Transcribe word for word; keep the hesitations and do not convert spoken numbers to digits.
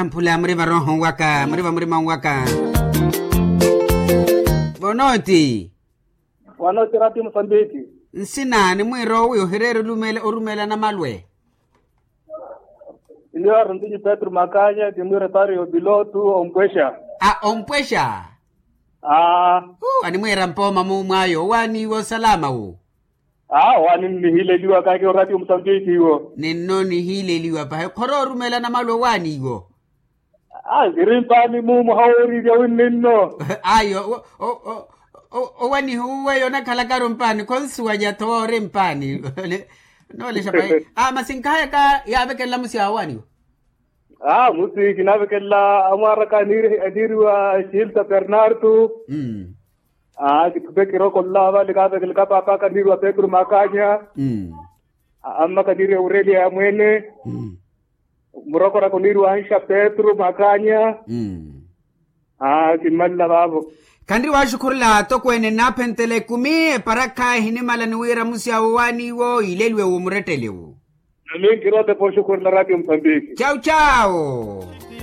Mphula muri varoho waka muri vamurima waka. Vonoti. Wanoti rati musambiki. Nsina ni mwiiro wi ohireera orumela namalwe. Iliyo aruntinyi petro makanya kimwire pari opilotu ompwesha. A ompwesha. Aa. Animwiira mpooma mumwayo owaaniiwa osalama wu. Aa owaani nnihileliwa kake orati omutambiki iwo. Ninno nihileliwa pahi khoro orumela namalwe owaani iwo. Aa nkiri mpaani mumu hawooriirya winninno. Ayo owanihuwe yonakhalakaru mpaani khonsuwanya tho woori mpaani. Noolexa pahi. Aa masi nkahayaka yaavekelela musi awo owaaniwa. Aa musi kinavekelela amwaaraka aniiriwa hilda bernardo. Aa kithupe kirokolela vale kaavekeleka paapaka aniiriwa petro makanya. Amma kaniiriwa aurelia ya mweene. Murokoraka oniiriwa anxa petro makanya. Aa kimmalela vaavo. Khanriwa axukhurela atokweene nnaaphentela ekumi eparakha ehinimala ni wira musi awo owaaniwo ileliwe wo murettelewu. Naminkiri otepa oxukhurela ratio musambiki. Cawu cawu.